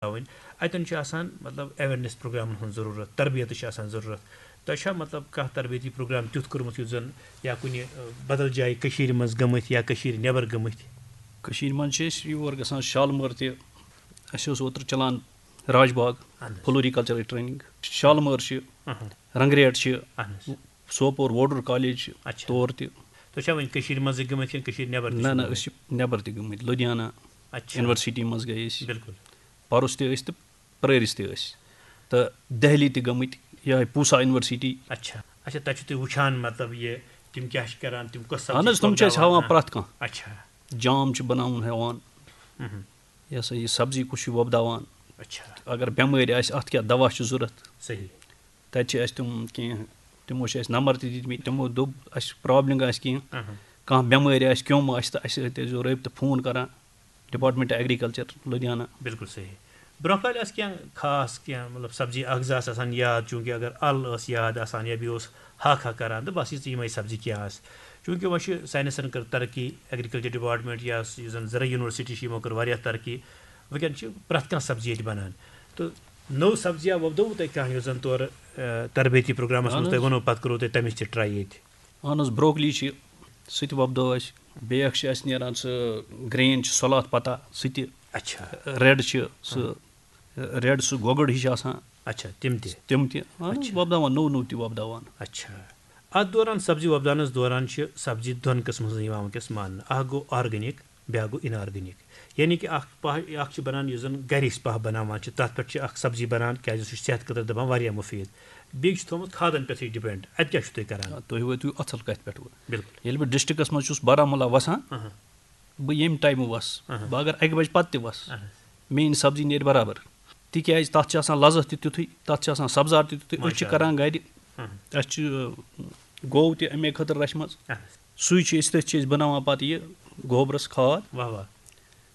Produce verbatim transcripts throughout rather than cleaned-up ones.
ترٛاوٕنۍ۔ اَتٮ۪ن چھُ آسان، مطلب، awareness پروگرامَن ہٕنٛز ضروٗرت، تربیتٕچ چھِ آسان ضروٗرت۔ تۄہہِ چھا، مطلب، کانٛہہ تربیتی پروگرام تیُتھ کوٚرمُت یُس زَن یا کُنہِ، آ، بدل جایہِ کٔشیٖرِ منٛز گٔمٕتۍ یا کٔشیٖرِ نٮ۪بر گٔمٕتۍ؟ کٔشیٖرِ منٛز چھِ أسۍ یور گژھان، شالمٲر تہِ۔ اَسہِ اوس اوترٕ چلان راج باغ، اَہَن حظ۔ Floriculture training۔ شالمٲر چھِ، اَہَن۔ رنگریٹ چھِ، اَہَن حظ۔ سوپور ووڈر کالج چھِ اچھا۔ تور تہِ۔ تُہۍ چھا وۄنۍ کٔشیٖرِ منٛزٕے گٔمٕتۍ کِنہٕ کٔشیٖرِ نٮ۪بر تہِ نہ، چھِو نہ، گٔمٕتۍ؟ أسۍ چھِ نٮ۪بر تہِ گٔمٕتۍ، لدھیانہ اچھا۔ University منٛز گٔے أسۍ۔ بِلکُل۔ پرُس تہِ ٲسۍ تہٕ پرٲرِس تہِ ٲسۍ۔ تہٕ دہلی تہِ گٔمٕتۍ، یِہوٚے پوٗسا University۔ اچھا۔ اچھا، تَتہِ چھِو تُہۍ وٕچھان، مطلب، یہِ تِم کیٛاہ چھِ کران، تِم کۄس اہن سبزی حظ، تِم چھِ اَسہِ وۄپداوان؟ ہاوان پرٛٮ۪تھ کانٛہہ۔ اچھا۔ جام چھِ بناوُن ہٮ۪وان۔ مہم۔ یہِ ہسا یہِ سبزی کُس چھُ وۄپداوان؟ اچھا۔ اگر بٮ۪مٲرۍ آسہِ، اَتھ کیٛاہ دوا چھُ ضوٚرَتھ؟ صحیح۔ تَتہِ چھِ اَسہِ تِم کینٛہہ، تِمو چھِ اَسہِ نمبر تہِ دِتمٕتۍ، تِمو دوٚپ، اَسہِ problem آسہِ کینٛہہ، اہم۔ کانٛہہ بٮ۪مٲرۍ آسہِ، کیوٚم آسہِ، تہٕ اَسہِ سۭتۍ ٲسۍزیو رٲبطہٕ، فون کران، Department Agriculture لدھیانہ۔ بِلکُل صحیح۔ برٛونٛہہ کالہِ ٲس کینٛہہ خاص کینٛہہ، مطلب، سبزی اَکھ زٕ آسہٕ آسان یاد، چوٗنٛکہِ اگر اَل ٲس یاد آسان یا بیٚیہِ اوس ہاکھ ہاکھ کران، تہٕ بس یِژٕے یِمَے سبزی کینٛہہ آسہٕ۔ چوٗنٛکہِ وۄنۍ چھِ ساینسَن کٔر ترقی، Agriculture Department یا یُس زَن زرعی University چھِ، یِمو کٔر واریاہ ترقی۔ وٕنکٮ۪ن چھِ پرٛٮ۪تھ کانٛہہ سبزی ییٚتہِ بَنان۔ تہٕ نٔو سبزیہ وۄپدٲوٕ تۄہہِ کانٛہہ، یۄس زَن تورٕ، آ، تربیتی پروگرامَس منٛز اہن تۄہہِ حظ۔ ووٚنوٕ، پَتہٕ کوٚروٕ تۄہہِ تَمِچ تہِ try ییٚتہِ؟ اہن حظ، broccoli چھِ، سُہ تہِ وۄپدٲو اَسہِ۔ بیٛاکھ چھِ اَسہِ نیران سُہ green چھِ، سۄلاتھ پَتا، سُہ تہِ۔ اچھا۔ Red چھِ سُہ، ہاں۔ Red سُہ گۄگُر ہِش آسان۔ اچھا، تِم تہِ؟ تِم تہِ۔ اہن حظ، اچھا۔ وۄپداوان، نوٚو نوٚو تہِ وۄپداوان۔ اچھا۔ اَتھ دوران، سبزی وۄپداونَس دوران چھِ سبزی دۄن قٕسمَن ہٕنٛز یِوان وٕنکٮ۪س ماننہٕ۔ اَکھ گوٚو organic، بیٛاکھ گوٚو inorganic۔ یعنی کہِ اَکھ پَہہ، اَکھ چھِ بَنان یُس زَن گَرِ أسۍ پَہہ بَناوان چھِ، تَتھ پٮ۪ٹھ چھِ اَکھ سبزی بَنان، کیٛازِ سُہ چھُ صحتہٕ خٲطرٕ دَپان واریاہ مُفیٖد۔ بیٚیہِ چھُ تھوٚومُت کھادَن پٮ۪ٹھٕے depend۔ اَتہِ کیٛاہ چھُو تُہۍ کَران؟ آ، تُہۍ وٲتِو اَصٕل کَتھِ پٮ۪ٹھ وۄنۍ۔ بِلکُل۔ ییٚلہِ بہٕ districtس منٛز چھُس، بارہمولہ وَسان، اہم۔ بہٕ ییٚمہِ ٹایمہٕ وَسہٕ، اہم۔ بہٕ اگر اَکہِ بَجہِ پَتہٕ تہِ وَسہٕ، اہم۔ میٛٲنۍ سبزی نیرِ برابر۔ تِکیٛازِ تَتھ چھِ آسان لذت تہِ تیُتھُے، تَتھ چھِ آسان سبزار تہِ تیُتھُے۔ أسۍ چھِ ماشاء اللہ۔ کَران گَرِ، اہم۔ اَسہِ چھِ، آ، گوٚو تہِ اَمے خٲطرٕ رَچھمَژٕ۔ اہم۔ سُے چھِ أسۍ، تٔتھۍ چھِ أسۍ بَناوان پَتہٕ یہِ گوبرَس کھاد۔ واہ واہ۔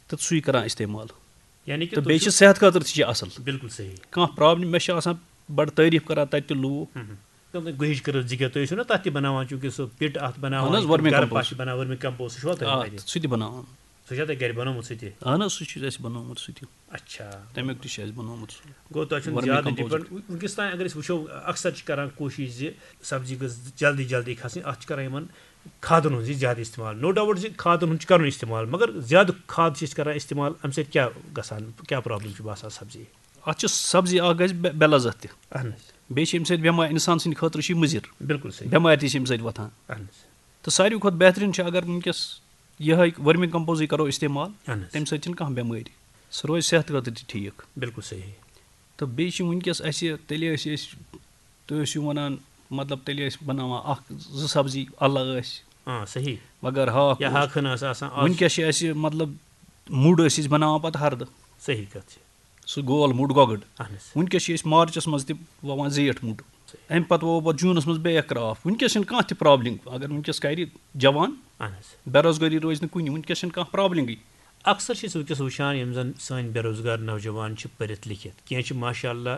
تہٕ سُے کَران استعمال۔ یعنی کہِ تہٕ تُہۍ بیٚیہِ چھِ چھِو صحت خٲطرٕ تہِ چھِ اَصٕل۔ بِلکُل صحیح۔ کانٛہہ problem، مےٚ چھِ آسان بَڑٕ تعریٖف کَران تَتہِ تہِ لوٗکھ۔ ہم ہم۔ تِم گُہِچ کٔرٕتھ زِ کیٛاہ تُہۍ ٲسِو نا تَتھ تہِ بَناوان، چوٗنٛکہِ سُہ pit اَتھ بَناوان، اہن حظ، تِم vermi گَرٕ compost۔ پَش بَناوان، vermi compost، سُہ چھُوا تۄہہِ آ، گَرِ؟ سُہ تہِ بَناوان۔ سُہ چھا تۄہہِ گَرِ بَنومُت سُہ تہِ؟ اہن حظ، سُہ چھُ اَسہِ بَنومُت سُہ تہِ۔ اچھا۔ تَمیُک تہِ چھُ اَسہِ بَنومُت سُہ۔ گوٚو تۄہہِ چھُنہٕ vermi زیادٕ compost۔ Depend، وٕنکیٚس تام اگر أسۍ وٕچھو، اکثر چھِ کَران کوٗشِش زِ سبزی گٔژھ جلدی جلدی کھَسٕنۍ، اَتھ چھِ کَران یِمَن کھادَن ہُنٛد یہِ زیادٕ استعمال۔ No doubt زِ کھادَن ہُنٛد چھُ کَرُن استعمال، مگر زیادٕ کھاد چھِ أسۍ کَران استعمال، اَمہِ سۭتۍ کیٛاہ گژھان، کیٛاہ problem چھِ باسان سبزی؟ اَتھ چھِ سبزی اَکھ گژھِ بے، بے لذت تہِ۔ اہن حظ۔ بیٚیہِ چھِ اَمہِ سۭتۍ بٮ۪مار، اِنسان سٕنٛدِ خٲطرٕ چھِ یہِ مُضِر۔ بِلکُل صحیح۔ بٮ۪مارِ تہِ چھِ اَمہِ سۭتۍ وۄتھان۔ اہن حظ۔ تہٕ ساروی کھۄتہٕ بہتریٖن چھُ اگر وٕنکیٚس یِہوٚے vermi compost کرو استعمال، اہن حظ۔ تَمہِ سۭتۍ چھِنہٕ کانٛہہ بٮ۪مٲرۍ۔ سُہ روزِ صحتہٕ خٲطرٕ تہِ ٹھیٖک۔ بِلکُل صحیح۔ تہٕ بیٚیہِ چھِ وٕنکیٚس اَسہِ، تیٚلہِ ٲسۍ أسۍ، تُہۍ ٲسِو وَنان، مطلب، تیٚلہِ ٲسۍ بَناوان اَکھ زٕ سبزی اَلہٕ ٲسۍ۔ آ، صحیح۔ مگر ہاکھ یا اوس۔ ہاکھ ہن ٲس آسان، آز وٕنکیٚس چھِ اَسہِ، مطلب، مُڈ ٲسۍ أسۍ بَناوان پَتہٕ ہَردٕ۔ صحیح کَتھ چھِ۔ سُہ گول مُڈ گۄگٕڑ۔ اہن حظ۔ وٕنکیٚس چھِ أسۍ مارچَس منٛز تہِ وَوان زیٖٹھ مُڈ۔ صحیح۔ اَمہِ پَتہٕ وَوو پَتہٕ جوٗنَس منٛز بیٚیہِ اَکھ crop۔ وٕنکیٚس چھِنہٕ کانٛہہ تہِ problem۔ اگر وٕنکیٚس کَرِ جوان، اہن حظ۔ بے روزگٲری روزِ نہٕ کُنہِ، وٕنکیٚس چھِنہٕ کانٛہہ problemٕے۔ اکثر چھِ أسۍ وٕنکیٚس وٕچھان، یِم زَن سٲنۍ بے روزگار نوجوان چھِ پٔرِتھ لیکھِتھ، کینٛہہ چھِ ماشاء اللہ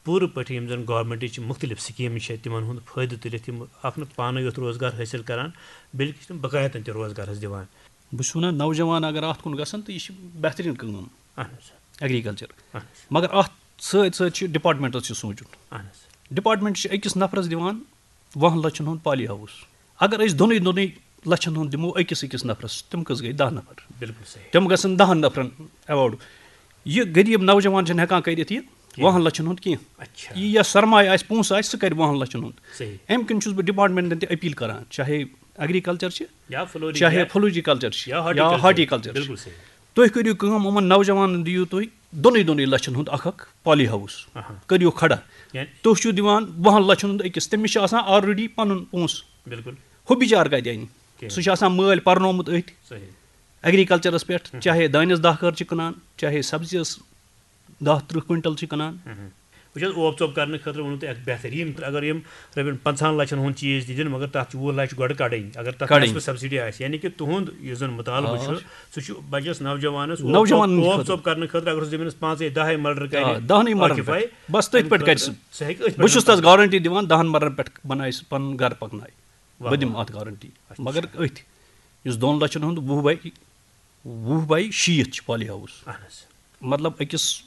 پوٗرٕ پٲٹھۍ یِم زَن governmentٕچ مُختلف سکیٖمہٕ چھِ، تِمَن ہُنٛد فٲیدٕ تُلِتھ یِم اَکھ نہٕ پانَے یوت روزگار حٲصِل کَران، بلکہِ چھِ تِم بقایتَن تہِ روزگار حظ دِوان۔ بہٕ چھُس وَنان، نوجوان اگر اَتھ کُن گژھن تہٕ یہِ چھِ بہتریٖن کٲم۔ اہن حظ۔ Agriculture۔ اہن حظ۔ مگر اَتھ سۭتۍ سۭتۍ چھِ departmentس تہِ سونٛچُن۔ اہن حظ۔ Department چھِ أکِس نفرَس دِوان وُہَن لَچھَن ہُنٛد poly house۔ اگر أسۍ دۄنٕے دۄنٕے لَچھَن ہُنٛد دِمو أکِس أکِس نفرَس، تِم کٔژ گٔے؟ دَہ نفر۔ بِلکُل صحیح۔ تِم گژھن دَہَن نفرَن award۔ یہِ غریٖب نوجوان چھِنہٕ ہٮ۪کان کٔرِتھ یہِ کینٛہہ۔ وُہَن لَچھَن ہُنٛد کینٛہہ۔ اچھا۔ یہِ یَس سرمایہِ آسہِ، پونٛسہٕ آسہِ، سُہ کَرِ وُہَن لَچھَن ہُنٛد۔ صحیح۔ اَمہِ کِنۍ چھُس بہٕ departmentن تہِ appeal کران، چاہے agriculture چھِ، یا floriculture۔ چاہے floriculture چھِ، یا یا horticulture۔ Horticulture چھِ۔ بِلکُل صحیح۔ تُہۍ کٔرِو کٲم، یِمَن نوجوانَن دِیِو تُہۍ دۄنٕے دۄنٕے لَچھَن ہُنٛد اَکھ اَکھ poly house۔ اہا۔ کٔرِو کھڑا۔ یعنی تُہۍ چھِو دِوان وُہَن لَچھَن ہُنٛد أکِس، تٔمِس چھِ آسان already پَنُن پونٛسہٕ۔ بِلکُل۔ ہُہ بِچار کَتہِ اَنہِ؟ کِہیٖنۍ۔ سُہ چھُ آسان مٲلۍ پَرنومُت أتھۍ۔ صحیح۔ Agricultureس پٮ۪ٹھ، ہُم۔ چاہے دانٮ۪س دَہ کٔر چھِ کٕنان، چاہے سبزیَس دَہ تٕرٛہ کویِنٹَل چھِ کٕنان۔ ہُم۔ وٕچھ حظ، اوپ ژوپ کرنہٕ خٲطرٕ ووٚنوُ تۄہہِ اکھ بہتریٖن، اگر یِم رۄپیَن پنٛژاہَن لَچھَن ہُنٛد چیٖز تہِ دِن، مگر تَتھ چھِ وُہ لَچھ گۄڈٕ کَڑٕنۍ، اگر تَتھ کَڑٕنۍ۔ Tax subsidy آسہِ، یعنی کہِ تُہُنٛد یُس زَن مُطالبہٕ آ۔ چھُ، سُہ چھُ بَچَس نوجوانَس اوپ نوجوانَن ژوپ، اوپ خٲطرٕ۔ ژوپ کرنہٕ خٲطرٕ، اگر سُہ زٔمیٖنَس پانٛژَے دَہَے مَلرٕ کَرِ، آ، دَہنٕے مَلرَن آکِفاے، پٮ۪ٹھ۔ بَس تٔتھۍ اَمہِ پٮ۪ٹھ کَرِ خٲطرٕ سُہ۔ سُہ ہیٚکہِ أتھۍ بہٕ پٮ۪ٹھ چھُس تَس کٔرِتھ۔ Guarantee دِوان، دَہَن مَلرَن پٮ۪ٹھ بَنایہِ سُہ پَنُن گَرٕ پَکنایہِ۔ واہ بہٕ دِمہٕ واہ۔ اَتھ guarantee۔ اچھا۔ مگر أتھۍ، یُس دۄن لَچھَن ہُنٛد وُہ by، وُہ by شیٖتھ چھِ poly house۔ اہن حظ۔ مطلب، أکِس